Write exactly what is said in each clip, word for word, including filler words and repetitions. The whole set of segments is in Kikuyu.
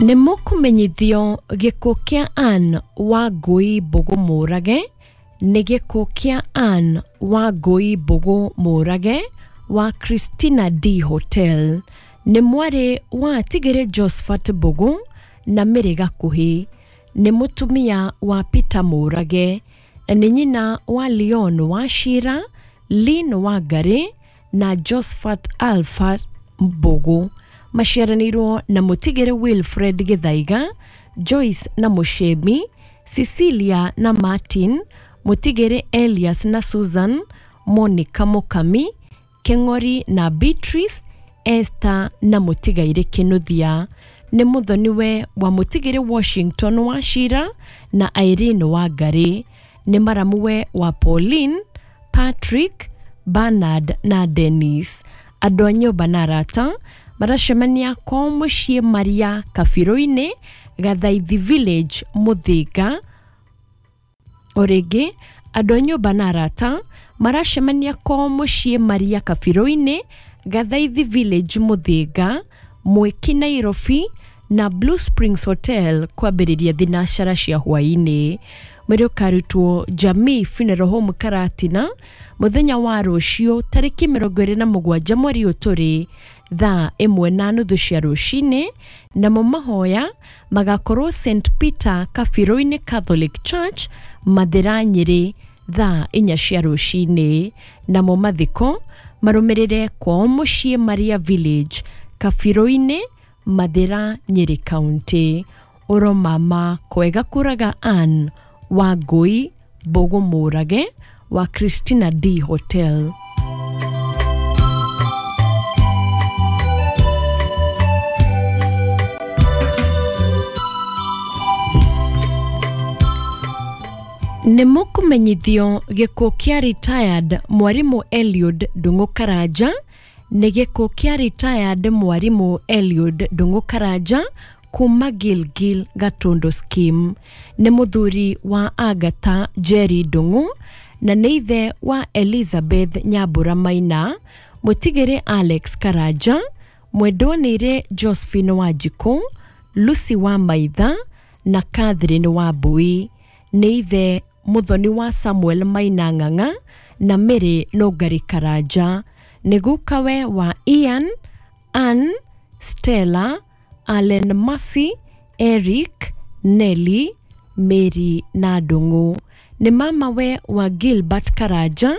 Nĩ mũkũmenyithio gĩkuũ kĩa Anne Wangui Mbũgũ Mũrage nĩ gĩkuũ kĩa Anne Wangui Mbũgũ Mũrage wa Christina D Hotel. Nĩ mwarĩ wa Tigĩrĩ Josephat Mbũgũ na Mary Gakuhĩ. Nĩ mũtumia wa Peter Mũrage na nĩ nyina wa Leon Wachira, Lynn Wangari na Josephat Alpha Mbũgũ. Maciaranĩirwo na Mũtigĩrĩ Wilfred Gĩthaiga, Joyce na Mũcemi, Cecilia na Martin, Mũtigĩrĩ Elias na Susan, Monica Mũkami, Keng'ori na Beatrice, Esther na Mũtigairĩ Kĩnuthia. Nĩ mũthoniwe wa Mũtigĩrĩ Washington Wachira na Irene Wangari. Nĩ maramuwe wa Pauline, Patrick, Bernard na Dennis. Andũ a nyũmba na arata maracemania kwao mũciĩ Maria Kabirũ-inĩ, Gathaithi Village, Mũthĩga. O rĩngĩ, andũ a nyũmba na arata maracemania kwao mũciĩ Maria Kabirũ-inĩ, Gathaithi Village, Mũthĩga, Mwiki Nairobi na Blue Springs Hotel kwambĩrĩria thinacara cia hwaĩ-inĩ. Mwĩrĩ ũkarutwo Jamii Funeral Home Karatina mũthenya wa rũciũ tarĩki mĩrongo ĩrĩ na mũgwanja mweri ũyũ tũrĩ thaa ĩmwe na nuthu cia rũcinĩ, namo mahoya magakorwo Saint Peter Kabirũ-inĩ Catholic Church Mathĩra Nyĩrĩ thaa inya cia rũcinĩ, namo mathiko marũmĩrĩre kwao mũciĩ Maria Village Kabirũ-inĩ Mathĩra Nyĩrĩ County. Oro mama kwega kũraga Anne Wangui Mbũgũ Mũrage wa Christina D Hotel. Nĩ mũkũmenyithio gĩkuũ kĩa retired mwarimũ Eliud Ndung'u Karanja nĩ gĩkuũ kĩa retired mwarimũ Eliud Ndung'u Karanja kuma Gilgil Gatundu Scheme. Nĩ mũthuri wa Agatha Jerry Ndung'u na nĩ ithe wa Elizabeth Nyambura Maina, Mũtigĩrĩ Alex Karanja, mwendwa nĩire Josephine Wanjikũ, Lucy wa Maitha na Catherine Wambui. Nĩ ithe mũthoni wa Samuel Maina Ng'ang'a na Mary Nũngari Karanja. Nĩ gukawe wa Ian, Ann, Stella, Allen Mercy, Eric, Nelly, Mary na Ndung'u. Nĩ mamawe wa Gilbert Karanja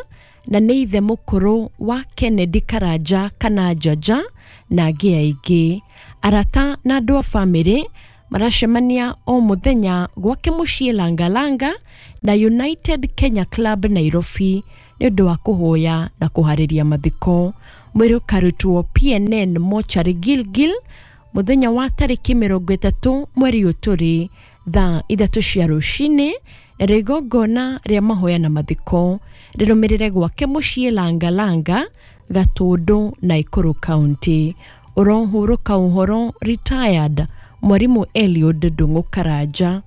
na nĩ ithe mũkũrũ wa Kennedy Karanja kana Njaja na angĩ aingĩ. Arata na andũ a bamĩrĩ maracemania o mũthenya gwake mũciĩ Langalanga na United Kenya Club Nairobi nĩ ũndũ wa kũhoya na kũharĩria mathiko. Mwĩrĩ ũkarutwo P N N Mortuary Gilgil mũthenya wa tarĩki mĩrongo ĩtatũ mweri ũyũ tũrĩ thaa ithatũ cia rũcinĩ, na igongona rĩa mahoya na mathiko rĩrũmĩrĩre gwake mũciĩ Langalanga, Gatũndũ, Nakuru County. Ũrohurũka ũhoro retired mwarimũ Eliud Ndung'u Karanja.